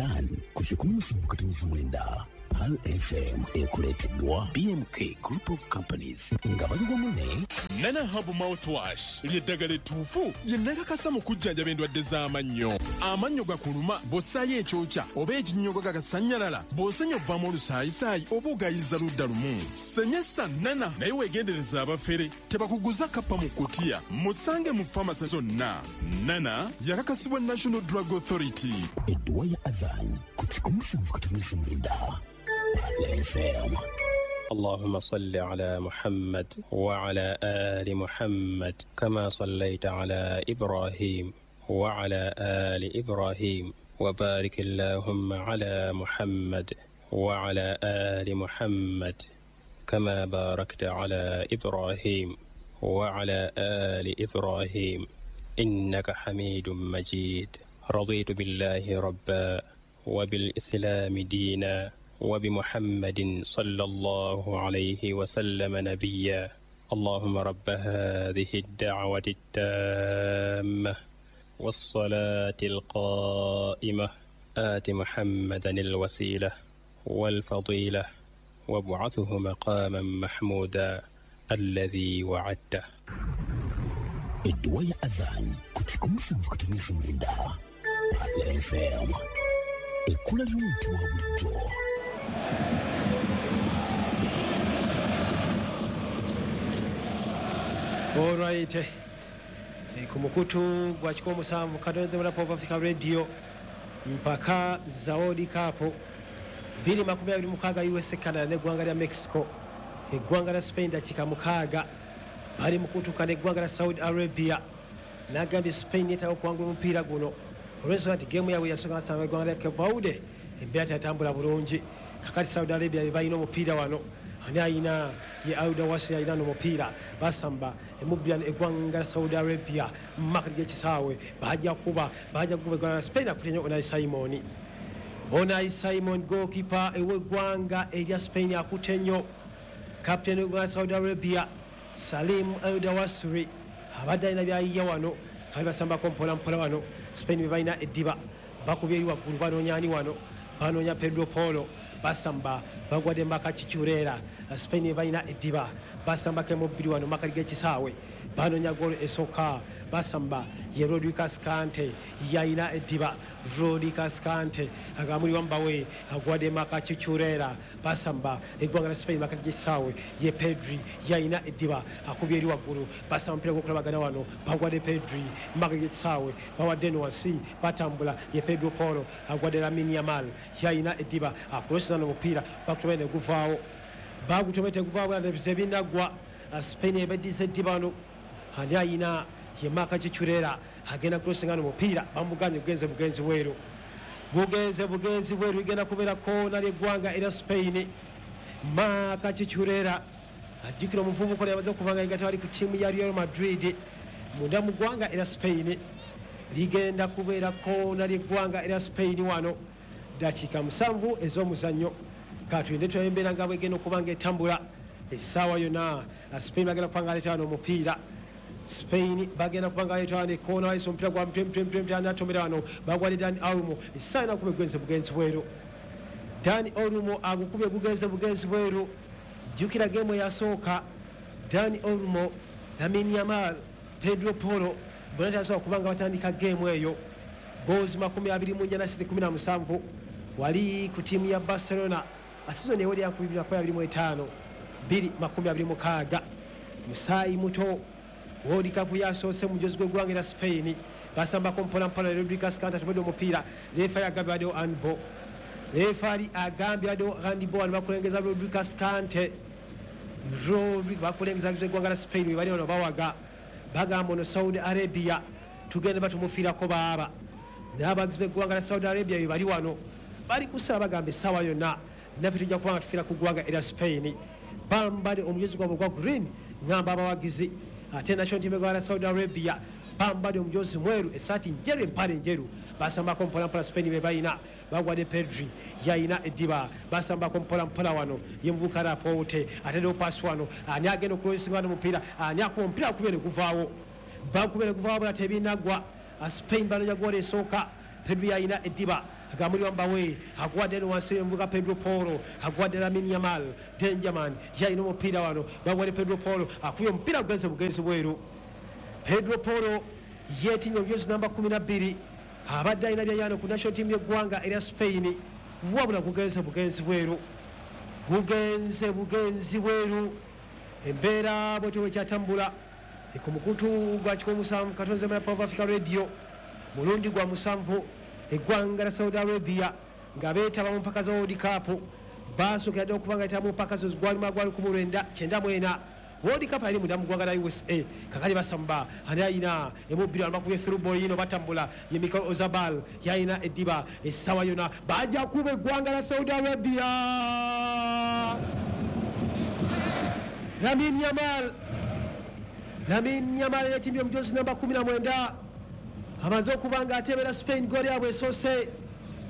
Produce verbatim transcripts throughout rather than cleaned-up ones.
Adhan ku kikumi musanvu katonnyeza mwenda Pearl F M, ekuleeteddwa B M K Group of Companies nga bali wamu ne Nana Herbal Mouthwash ly'eddagala ettuufu lye nakakasa mu kujjanjaba endwadde z'amannyo. Amannyo gakuluma bw'ossaayo ekyokya oba ekinnyogo gagasannyalala, bw'osenya ovaamu olusaayisaayi oba ogayiza ludda lumu. Senyesa Nana, naye weegendereza abafere tebakuguza kappa mu kutiya. Musange mu famasi zonna. Nana yakakasibwa National Drug Authority. Edduwa ya Adhan ku kikumi musanvu katonnyeza mwenda Pearl F M. اللهم صل على محمد وعلى آل محمد كما صليت على إبراهيم وعلى آل إبراهيم، وبارك اللهم على محمد وعلى آل محمد كما باركت على إبراهيم وعلى آل إبراهيم، إنك حميد مجيد. رضيت بالله ربا، وبالإسلام دينا، وبمحمد صلى الله عليه وسلم نبيا. اللهم رب هذه الدعوة التامة والصلاة القائمة، آت محمدا الوسيلة والفضيلة، وابعثه مقاما محمودا الذي وعدته. Edduwa ya Adhan ku kikumi musanvu katonnyeza mwenda Pearl F M, ekkula ly'omuntu wa bulijjo. Alright. E, ku mukutu gwa kikumi musanvu katonze mula Pop Africa Radio, mpaka za World Cup bbiri makumi abiri mukaaga, U S A, Canada n'eggwanga lya Mexico. Eggwanga lya Spain dakiika mukaaga bali mu kutuuka n'eggwanga lya Saudi Arabia. Nagambye Spain yeetaaga okuwangula omupiira guno olw'ensonga nti geemu yaabwe yasooka basanga eggwanga lya Cape Verde, embeera teyatambula bulungi. Kakati Saudi Arabia be balina omupiira wano. Ani ayina? Ye Aldawasri ayina n'omupiira. Basamba emubbira eggwanga lya Saudi Arabia mu makkati g'ekisaawe. Bajja kuba bajja kuba eggwanga lya Spain. Akutte nnyo Unai Simon, Unai Simon, goalkeeper ew'eggwanga erya Spain, akutte nnyo. Captain w'eggwanga lya Saudi Arabia, Salim Aldawasri, abadde alina byayiya wano. Kali basambako mpola mpola wano. Spain be balina eddiba, bakubye eri waggulu. Banoonya ani wano? Banoonya Pedro Polo. Basamba, bagwadde Marc Cucurella. Spain be balina eddiba, basambako emubbiri wano makali g'ekisaawe. Banoonya golo esooka. Basamba, ye Rodri Cascante yayina eddiba. Rodri Cascante agamuli wambawe, agwadde Marc Cucurella. Basamba eggwanga lya Spain makali g'ekisaawe. Ye Pedri yayina eddiba, akubye eri waggulu. Basamba omupiira gw'okulabagana wano, bagwadde Pedri makali g'ekisaawe, bawadde eno wansi. Batambula, ye Pedro Polo agwadde Lamine Yamal, yayina eddiba, akuloseza n'omupiira, bakutomere ne guvaawo, bagutomere teguvaawo, tebinaggwa. Spain ebeddiza eddiba wano. Ani ayina? Ye Marc Cucurella agenda kulosinga n'omupiira, bamuganye, gugenze bugenzi bweru, gugenze bugenzi bweru. Ligenda kubeera koona ly'eggwanga erya Spain. Marc Cucurella, ajjukira omuvubuka ono yamaze okuba nga yegatta bali ku ttiimu ya Real Madrid munda mu ggwanga erya Spain. Ligenda kubeera koona ly'eggwanga erya Spain wano, dakiika musanvu ez'omuzannyo. Katulinde tulabe embeera nga bwegenda okuba nga etambula essaawa yonna. Spain bagenda kuba nga aleeta wano omupiira. Spain bagenda kuba nga baleeta wano ekoona. Bayisa omupiira gwa mutwe, mutwe, mutwe, mutwe. Anatomera wano? Bagwadde Dani Olmo. Essaawa yonna akuba, egugenze bugenzi bweru. Dani Olmo agukubye, gugenze bugenzi bweru. Jjukira geemu eyasooka, Dani Olmo, Lamine Yamal, Pedro Polo bonna tebasobola kuba nga batandika geemu eyo. Goals makumi abiri mu nnya na sita kumi na musanvu wali ku ttiimu ya Barcelona season eweri ya nkumi bbiri makumi abiri mu ttaano bbiri makumi abiri mu mukaaga. Musaayi muto, World Cup yasoose mujozi gw'eggwanga erya Spain. Basambako mpolampola. Rodri Cascante atomedde omupiira. Referee agambye baddewo handball. Referee agambye baddewo handball wano. Bakulengeza Rodri Cascante, Rodri bakulengeza eggwanga lya Spain. We bali wano bawaga, bagamba ono Saudi Arabia tugende batumufiirako baaba. N'abagizi b'eggwanga lya Saudi Arabia be bali wano, bali kusala, bagamba essaawa yonna naffe tujja kuba nga tufiira ku ggwanga erya Spain. Bambadde omujozi gwabwe ogwa green, ŋŋamba abawagizi. Ate national team eggwanga lya Saudi Arabia bambadde omujozi mweru, esaati njeru, empale njeru. Basambako mpolampola. Spain be balina, bagwadde Pedri, yayina eddiba. Basambako mpolampola wano, ye muvuka Laporte ateddewo pasi wano. Ani agenda okulosinga wano omupiira? Ani akuba omupiira? Akubye ne guvaawo, bakubye ne guvaawo, bula tebinaggwa. Spain banonya goolo esooka. Pedri yalina eddiba agamuli wambawe agwadde eno wansi envuga Pedro Poro agwadde Lamine Yamal Dangerman yalina omupiira wano bagwadde Pedro Poro akubye omupiira gugenze bugenzi bweru. Pedro Poro yeetimbye omujozi namba kumi na bbiri abadde alina byayano ku national team y'eggwanga erya Spain wabula gugenze bugenzi bweru, gugenze bugenzi bweru. Embeera bwetyo bwekyatambula ku mukutu gwa kikumi musanvu katonze muna Power Africa Radio mulundi gwa musanvu eggwanga la Saudi Arabia nga beetaba mu mpaka za World Cup basookera ddala okuba nga yetaba mu mpaka zo gwalimu gwa lukumi lwenda kyenda mu ena. World Cup yali munda mu ggwanga la U S A kakali basamba ani ayina emubbiri amakubye through ball yino batambula ye Mikel Oyarzabal yayina eddiba essaawa yonna bajja kuba eggwanga la Saudi Arabia. Lamine Yamal, Lamine Yamal yetimbye omujozi namba kumi na mwenda amaze okuba nga atebera Spain goal yabwe esoose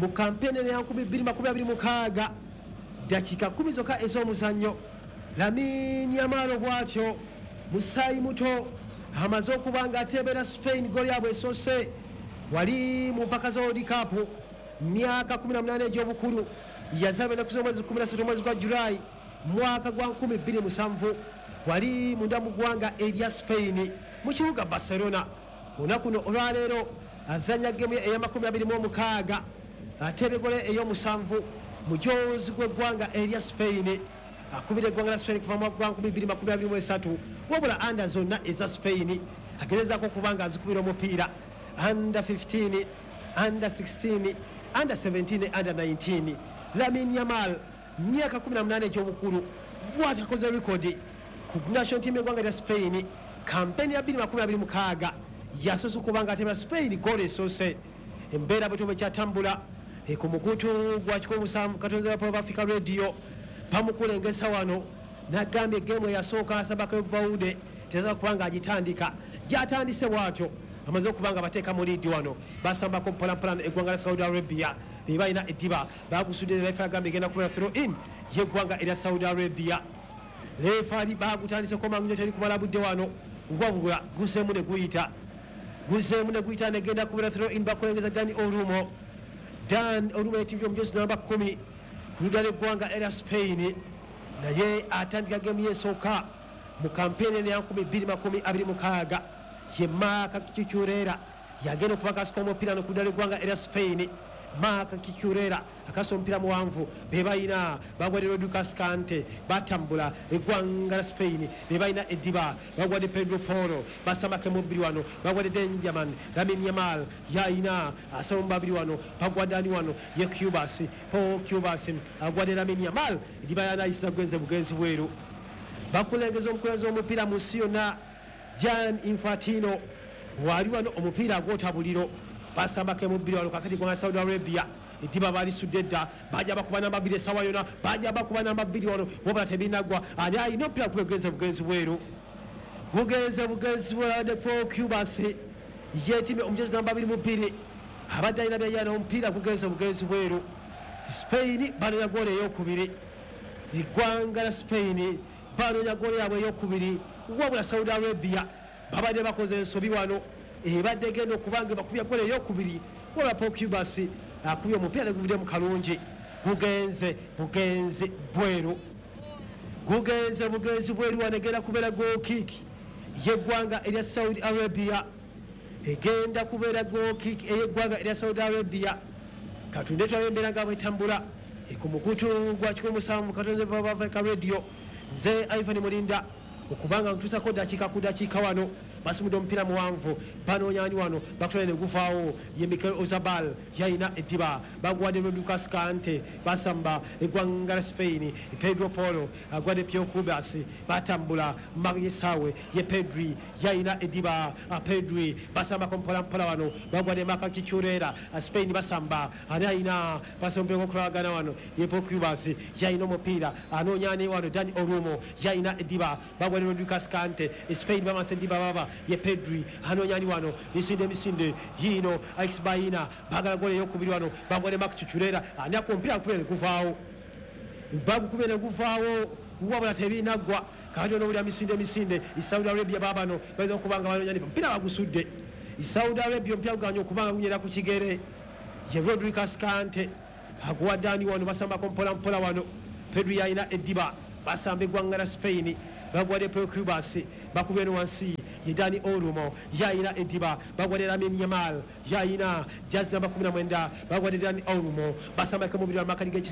mu kampeni ya nkumi bbiri makumi abiri mukaaga dakiika kumi zokka ez'omuzannyo. Lamine Yamal bw'atyo musaayi muto amaze okuba nga atebera Spain goal yabwe esoose wali mu mpaka za World Cup myaka kumi na munaana egy'obukulu yazaalibwa ennaku z'omwezi kumi na ssatu omwezi gwa Julaayi mwaka gwa nkumi bbiri musanvu wali munda mu ggwanga erya Spain mu kibuga Barcelona. Olunaku luno olwaleero azannya gemu ey'amakumi abiri mu omukaaga atebye goal ey'omusanvu mujozi gw'eggwanga erya Spain akubira eggwanga la Spain kuva mu mwaka gwa nkumi bbiri makumi abiri mu esatu wabula anda zonna eza Spain agezezaako okuba nga azikubira omupiira under fifteen, under sixteen, under seventeen, under nineteen. Lamine Yamal myaka kumi na munaana egy'obukulu bw'atyo akoze rekodi ku national team y'eggwanga lya Spain kampeni ya bbiri makumi abiri mukaaga yasoose okuba nga atebera Spain goal esoose. Embeera bwetyo bwekyatambula ku mukutu gwa kikumi musanvu katonze wa Africa Radio bamukulengesa wano nagambye gemu eyasooka asabako Vaude teza kuba nga agitandika gyatandise bw'atyo amaze okuba nga bateeka mu liidi wano basambako mpolampola eggwanga la Saudi Arabia be balina eddiba bagusudde refa agambye egenda kubeera throw in y'eggwanga erya Saudi Arabia. Refaali bagutandiseko mangu nnyo teri kumala budde wano wabula guseemu ne guyita guseemu ne guyita negenda kubeera throw in bakulengeza Dani Olmo. Dan Olmo yetimbye omujozi namba kumi ku ludda lw'eggwanga erya Spain naye atandika gemu y'esooka mu kampeni eno ya nkumi bbiri makumi abiri mukaaga ye Marc Cucurella yagenda okuba akasika omupiira no ku ludda lw'eggwanga erya Spain. Marc Cucurella akasa omupiira muwanvu be balina bagwadde Lucas Kante batambula eggwanga la Spain be balina eddiba bagwadde Pedro Poro basambako emubbiri wano bagwadde Dangerman Lamine Yamal yayina asala omubabiri wano bagwadde ani wano ye Cubas Paul Cubas agwadde Lamine Yamal eddiba yanayisa gugenze bugenzi bweru. Bakulengeza omukulembeze w'omupiira mu nsi yonna Gianni Infantino wali wano omupiira agwota buliro basambako emubbiri wano kakati gwanga Saudi Arabia eddiba balisudde dda bajja bakuba namba bbiri essaawa yonna bajja bakuba namba bbiri wano wabula tebinaggwa ani ayina omupiira kuba gugenze bugenzi bweru gugenze bugenzi bweru abadde Paul Cubas yeetimbye omujozi namba abiri mu bbiri abadde alina byayana omupiira gugenze bugenzi bweru. Spain banoonya goolo ey'okubiri eggwanga la Spain banoonya goolo yaabwe ey'okubiri wabula Saudi Arabia babadde bakoze ensobi wano ebadde egenda okuba nga bakubya goolo ey'okubiri wabula Paul Cubas akubye omupiira ne guvuddemu kalungi gugenze bugenzi bweru gugenze bugenzi bweru wano egenda kubeera goal kick y'eggwanga erya Saudi Arabia egenda kubeera goal kick ey'eggwanga erya Saudi Arabia. Katunde tulabe embeera nga bwetambula ku mukutu gwa kikumi musanvu katonze Africa Radio nze Ivan Mulinda okubanga ntuusako dakiika ku dakiika wano basimudde omupiira muwanvu banoonya ani wano bakutwala ne guvaawo ye Mikel Oyarzabal yayina eddiba bagwadde Lucas Kante basamba eggwanga la Spain Pedro Poro agwadde Pio Cubas batambula Magisawe ye Pedri yayina eddiba Pedri basambako mpolampola wano bagwadde Marc Cucurella Spain basamba ani ayina basamba okulagana wano ye Paul Cubas yayina omupiira anoonya ani wano Dani Olmo yayina eddiba bagwadde Lucas Kante Spain bamase eddiba baba ye Pedri anoonya ani wano misinde misinde yino Alex Baina bagala goal ey'okubiri wano bagwadde Marc Cucurella ani akuba omupiira gukubye ne guvaawo bagukubye ne guvaawo wabula tebinaggwa kakati onowulira misinde misinde Saudi Arabia baabano bayinza okuba nga banoonya omupiira bagusudde Saudi Arabia omupiira guganye okuba nga gunyera ku kigere Ye Rodri Cascante aguwa Dani wano, basambako mpola mpola wano. Pedri yalina eddiba, basamba eggwanga la Spain, bagwadde Pau Cubarsi, bakubye eno wansi ye Dani Olmo yalina eddiba, bagwadde Lamine Yamal yalina jazi namba kumi na mwenda, bagwadde Dani Olmo, basambako mubiri wa makali.